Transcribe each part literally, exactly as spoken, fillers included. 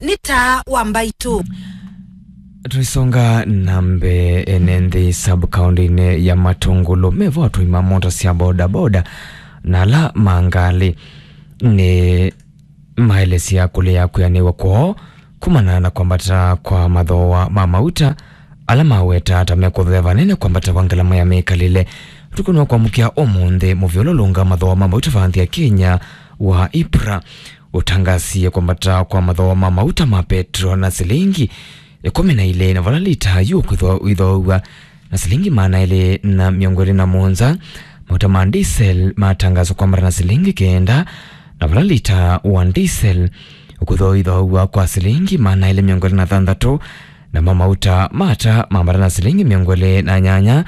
Nĩ taa wa mbaitũ. Tũisonga na mbee, ene nthĩ sub-county-inĩ ya Matũngũlũ mevo atũi ma mota sya bodaboda na ala ma ngalĩ nĩ maelesya kũlea kwĩanĩw'a kwoo kumana na kwambata kwa mathooa ma mauta ala maweta ta mekũthea vanene kwambata kwa ngalama ya mĩkalĩle. Ũtukũnĩ wa kwamũkĩa ũmũnthĩ, mũvyũlũlũnga mathooa ma mauta va nthĩ ya Kenya wa IPRA ũtangasie kwambata kwa mathooa ma mauta ma petro na silingi ĩkũmi na ilĩ, na vala lita yu ũkwĩthwa ũithoow'a na silingi maana elĩ na mĩongo ĩlĩ na mũonza. Mauta ma diesel matangaswa kwambata na silingi kenda, na vala lita wa diesel ũkwĩthwa ũithoow'a kwa silingi maana elĩ mĩongo ĩlĩ na thanthatũ, namo mauta ma ata mambata na silingi mĩongo ĩlĩ na nyanya,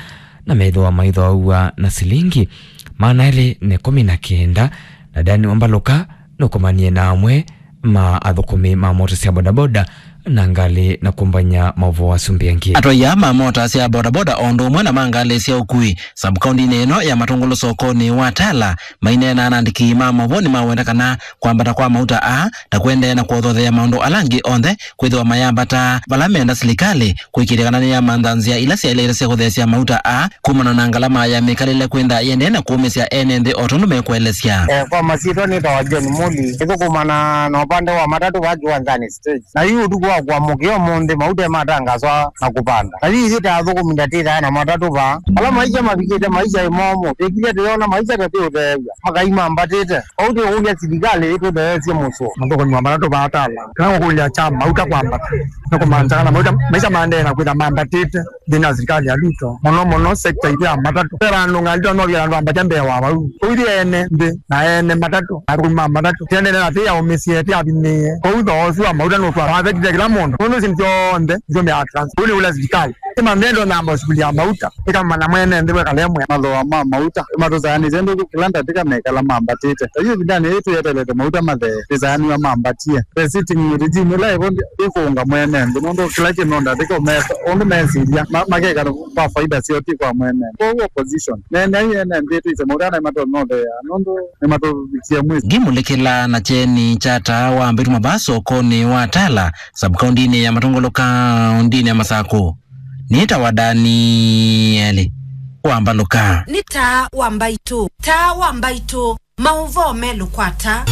na methĩwa maithoow'a na silingi maana elĩ na ĩkũmi na kenda. Na Dani Wambalũka nũkomanie na amwe ma athũkũmi ma mota sya bodaboda na ngalĩ na kũmbany'a maũvoo asumbĩ angĩ. Atwaia ma mota sya bodaboda o ũndũ ũmwe na ma ngalĩ sya ũkui sub-kauntinĩ ĩno ya Matũngũlũ sokonĩ wa Tala maineena na andĩki ma maũvoo nĩmawenda kana kwambata kwa mauta aa na kũendeea na kũothothea maũndũ ala angĩ onthe kwĩthĩwa mayambata vala menda silikalĩ kũĩkĩĩthya kana nĩyamantha nzĩa ila syaĩlĩte sya kũtheesya mauta aa kumana na ngalama ya mĩkalĩle kwĩntha yĩendee na kũũmĩsya ene nthĩ o tondũ mekũelesya. Eh, kwa masyĩtwa nĩtawa John Muli. Nĩthũkũmana na ũpande wa matatũ vaa kĩwanzanĩ stage. Na yu ũtukũ wa kũamũkĩa ũmũnthĩ, mauta ematangaswa na kũvanda. Na yu ithyĩ ta athũkũmi ndatĩthaa na matatũ vaa. Ala maisha mavikĩte maisha ĩmomũ, twĩkilye tũyona maisha tatĩũtheew'a. Makai mambatĩte. Vau twĩkũlya silikalĩ ĩtũtheesye mũsyo. Mathũkũmi wa matatũ vaa Tala. Kana kũkũlya kya mauta kwambata. Nĩ kũmaanisha kana mauta, maisha maendee na kwĩtha mambatĩte nthĩnĩ wa silikalĩ ya Ruto. Mũno mũno sekta itũ ya matatũ. Ve vandũ ngalĩ twa no vya andũ ambatya mbee wa vau. Kũu ithyĩ ene nthĩ na ene matatũ, athũkũmi ma matatũ. Tiendele na tĩ yaũmĩsye, tĩ avimĩe. Kũu thooa ũsu wa mauta nũtwa wavekite kĩla mũndũ. Nũndũ ici nĩ syonthe nĩsyo mea trans. Kũu nĩ ũla silikalĩ. Ĩmanthe ndo namba sukuli ya mauta. Ĩkamana mwene nthĩ wekalemwe. Mathooa ma mauta. Matũsaanĩsye nũndũ kĩla ndatĩka mekala mambatĩte. Ta yu ĩvindanĩ yĩĩ twĩetelete mauta mathee, twĩsaanĩw'a mambatie. The sitting regime ĩla ĩvo ĩkũũnga mwene nthĩ, nũndũ kĩla kĩndũ ndatĩka ũmesa ũndũ mesilya, ma-, makeka kwa faida syoo, ti kwa mwene nthĩ. Kwoou opposition, neeneai ene nthĩ twĩse mauta ala nĩmatonya ũtheea, nũndũ nĩmatũvikie mwĩso. Ngimũlĩkĩla na kyeni kya taa wa mbaitũ mavaa sokonĩ wa Tala, sub-kauntinĩ ya Matũngũlũ, kauntinĩ ya Masakũ. Nĩtawa Danieli Wambalũka. Nĩ taa wa mbaitũ, taa wa mbaitũ, maũvoo melũkwata.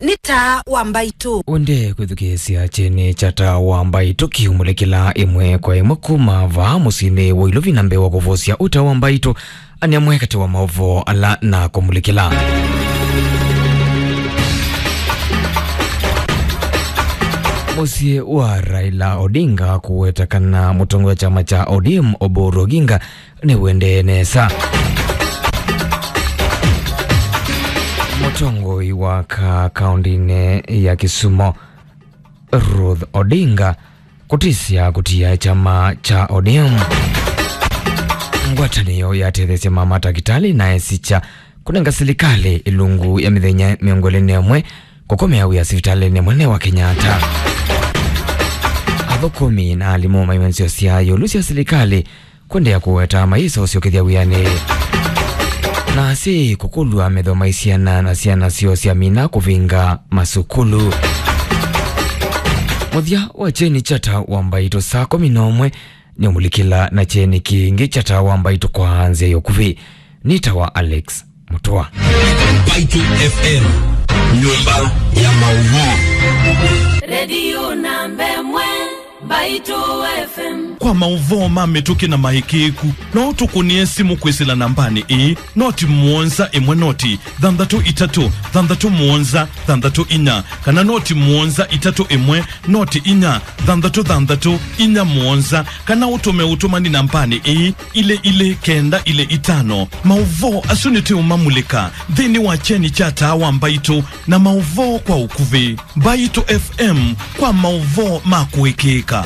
Nĩ taa wa mbaitũ. Ũndee kwĩthukĩĩsya kyeni kya taa wa mbaitũ kĩumũlĩkĩla ĩmwe kwa ĩmwe kuma vaa mũsyĩnĩ wa Ilovi, na mbee wa kũvosya ũta wa mbaitũ, anĩ amwe katĩ wa maũvoo ala na kũmũlĩkĩla. Mũsyĩ wa Raila Odinga kũweta kana mũtongoi wa kyama kya O D M Oburu Oginga nĩwendee nesa. Mũtongoi wa ka-, kaũndĩnĩ ya Kisumu, Ruth Odinga, kũtĩsya kũtia kyama kya O D M ngwatanĩo yatetheesya ma matakĩtalĩ na esikya kũnenga silikalĩ ĩlungu ya mĩthenya mĩongo ĩlĩ na ĩmwe kũkomea wĩa sivitalĩnĩ mũnene wa Kenyatta. Athũkũmi na alimũ maiwe nzeo sya ĩũlũ sya silikalĩ kũendeea kũweta mayĩsa ũsyokethya wĩanĩ. Na asyai kũkũlw'a metho ma syana na syana syoo syamina kũvĩnga masukulu. Mũthya wa kyeni kya taa wa mbaitũ saa kũmi na ũmwe nĩũmũlĩkĩla na kyeni kĩngĩ kya taa wa mbaitũ kwa nzĩa ya ũkuvĩ. Nĩtawa Alex Mũtũa. Mbaitũ F M, nyũmba ya maũvoo. Redio namba ĩmwe, Mbaitũ F M. Kwa maũvoo ma mĩtũkĩ na maĩkĩĩku, no ũtũkũnĩe simũ kwĩsĩla nambanĩ ĩĩ, noti mũonza ĩmwe noti thanthatũ itatũ thanthatũ mũonza thanthatũ inya, kana noti mũonza itatũ ĩmwe noti inya thanthatũ thanthatũ inya mũonza, kana ũtũme ũtũmani nambanĩ ĩĩ, ilĩ ilĩ kenda ilĩ itano. Maũvoo asu nĩtũũmamulĩka nthĩnĩ wa kyeni kya taa wa mbaitũ na maũvoo kwa ũkuvĩ. Mbaitũ F M kwa maũvoo ma kũĩkĩĩka.